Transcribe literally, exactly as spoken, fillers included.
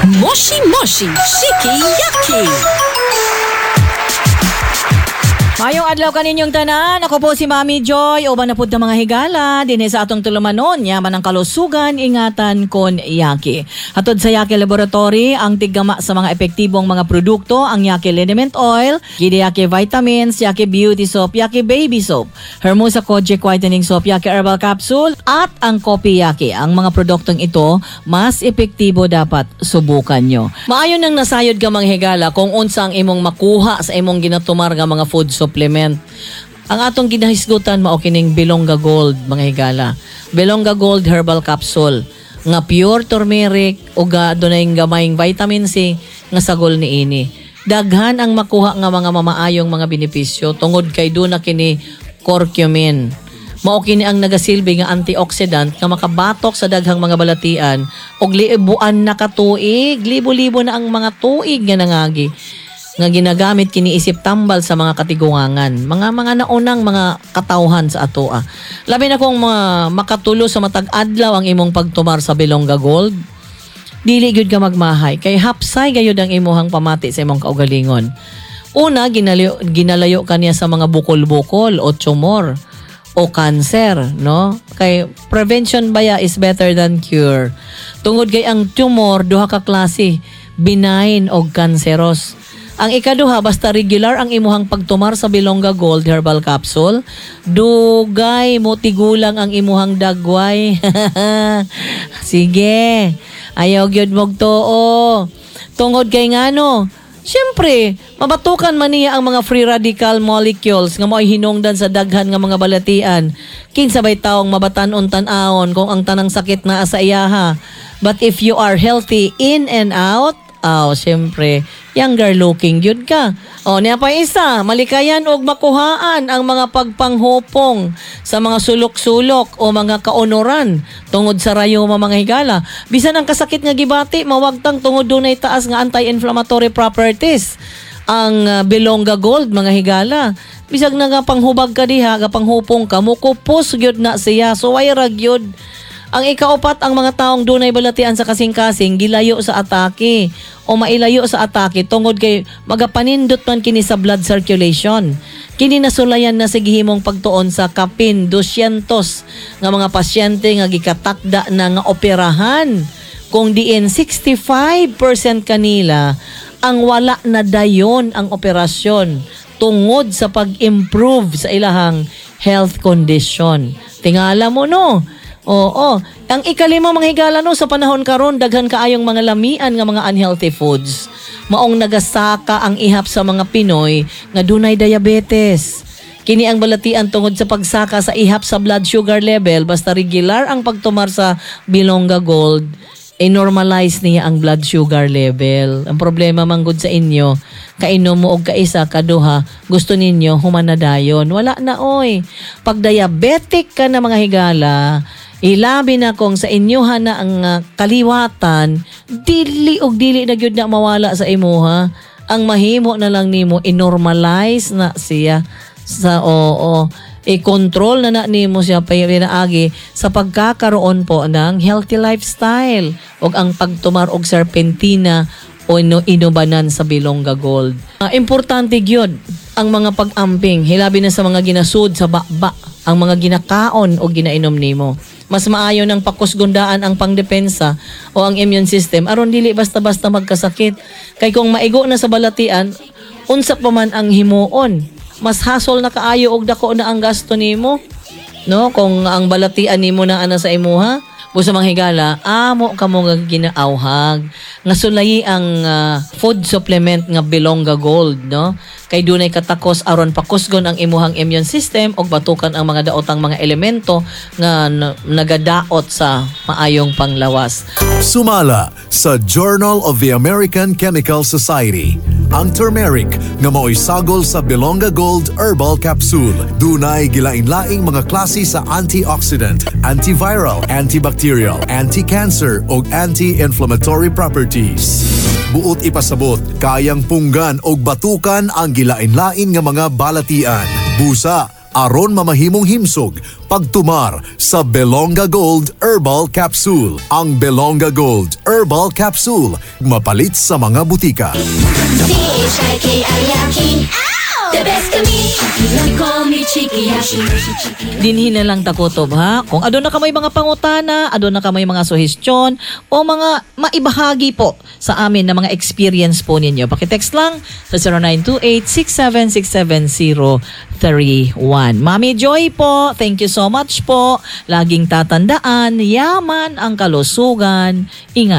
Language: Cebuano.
Moshi Moshi Shiki Yaki. Maayong adlaw kaninyong tanan. Ako po si Mami Joy. Uban na pud ta, mga higala dinhi sa atong tulumanon. Yaman ang kalusugan, ingatan kon Yaki. Hatod sa Yaki Laboratory, ang tiggama sa mga epektibong mga produkto, ang Yaki Liniment Oil, Gidi Yaki Vitamins, Yaki Beauty Soap, Yaki Baby Soap, Hermosa Kojic Whitening Soap, Yaki Herbal Capsule, at ang Kopi Yaki. Ang mga produktong ito, mas epektibo, dapat subukan nyo. Maayo nang nasayod ka, mga higala, kung unsa ang imong makuha sa imong ginatumar nga mga food supplement. Ang atong ginahisgutan mao kining Bilongga Gold, mga higala. Bilongga Gold Herbal Capsule nga pure turmeric ug adunay gamayng vitamin C nga sagol niini. Daghan ang makuha nga mga mamaayong mga benepisyo tungod kay duna kini curcumin. Mao kini ang nagasilbi nga antioxidant nga makabatok sa daghang mga balatian ug libuan na ka tuig, libo-libo na ang mga tuig nga nangagi nga ginagamit kini isip tambal sa mga katiguangan, mga mga naunang mga katawhan sa atoa. Labi na kung mga makatulo sa matag adlaw ang imong pagtumar sa Bilongga Gold, dili gyud ka magmahay kay hapsay gayud ang imuhang pamati sa imong kaugalingon. Una, ginalayo, ginalayo kaniya sa mga bukol-bukol o tumor o cancer, no? Kay prevention baya is better than cure. Tungod kay ang tumor duha ka klase, benign o cancerous. Ang ikaduha, basta regular ang imuhang pagtumar sa Bilongga Gold Herbal Capsule, dugay mo tigulang ang imuhang dagway. Sige, ayaw gyud mogtuo. Tungod kay ngano, siyempre, mabatukan man niya ang mga free radical molecules nga mo'y hinungdan sa daghan nga mga balatian. Kinsa bay taong mabatan-on tan-awon kung ang tanang sakit naa sa iyaha? But if you are healthy in and out, aw, siyempre, younger looking gyud ka. O, niya pa isa, malikayan og makuhaan ang mga pagpanghupong sa mga sulok-sulok o mga kaunoran tungod sa rayuma, mga higala. Bisan ang kasakit nga gibati, mawagtang tungod dunay taas nga anti-inflammatory properties ang uh, Bilongga Gold, mga higala. Bisag na nga panghubag ka diha, ga panghupong ka, mukupos gyud na siya. So way ra gyud. Ang ikaupat, ang mga taong dunay balatian sa kasing-kasing gilayo sa atake o mailayo sa atake tungod kay magapanindot man kini sa blood circulation. Kini nasulayan na sa gihimong pagtuon sa kapin two hundred nga mga pasyente nga gikatakda na nga operahan kung diin sixty-five percent kanila ang wala na dayon ang operasyon tungod sa pag-improve sa ilahang health condition. Tingala mo, no? Oo. Ang ikalima, mga higala, no, sa panahon karon daghan kaayong mga lamian nga mga unhealthy foods. Maong nagasaka ang ihap sa mga Pinoy nga dunay diabetes. Kini ang balatian tungod sa pagsaka sa ihap sa blood sugar level. Basta regular ang pagtumar sa Bilongga Gold, i-normalize niya ang blood sugar level. Ang problema manggod sa inyo, kainom mo og kaisa, kaduha, gusto ninyo human na dayon. Wala na oy. Pag diabetic ka na, mga higala, ilabi na kung sa inyohan na ang ah, kaliwatan, dili og dili na gyud na mawala sa imuha. Ang mahimo na lang nimo, i-normalize na siya sa, oo, i-control na na nimo siya pinaagi sa pagkakaroon po ng healthy lifestyle ug ang pagtumar og serpentina o ino inubanan sa Bilongga Gold. Ah, importante gyud ang mga pag-amping, hilabi na sa mga ginasud sa baba, ang mga ginakaon o ginainom nimo. Mas maayo nang pakusgundaan ang pangdepensa o ang immune system aron dili basta-basta magkasakit. Kay kung maigo na sa balatian, unsa pa man ang himuon? Mas hasol na kaayo og dako na ang gasto nimo. No, kung ang balatian nimo na ana sa imuha, busa, mga higala, amo kamo nga ginaawhag nga sulayi ang ah, food supplement nga Bilongga Gold, no? Kay dunay katakos aron pakusgon ang imuhang immune system ug batukan ang mga daotang mga elemento nga na- nagadaot sa maayong panglawas. Sumala sa Journal of the American Chemical Society, ang turmeric nga mao'y sagol sa Bilonga Gold Herbal Capsule. Dunay gilain-laing mga klase sa antioxidant, antiviral, antibacterial, anti-cancer ug anti-inflammatory properties. Buot ipasabot, kayang punggan og batukan ang gilain-lain nga mga balatian. Busa, Aron mamahimong himsog pagtumar sa Belonga Gold Herbal Capsule. Ang Belonga Gold Herbal Capsule mapalit sa mga butika. C H I K I Y A K I. The best kami. Call me Chikiyashi. Dinhi na lang ta kutob, ha. Kung aduna kamoy mga pangutana, aduna kamoy mga suhestyon o mga maibahagi po sa amin na mga experience po ninyo, paki-text lang sa zero nine two eight, six seven six seven zero three one. Mami Joy po, thank you so much po. Laging tatandaan, yaman ang kalusugan. Ingat.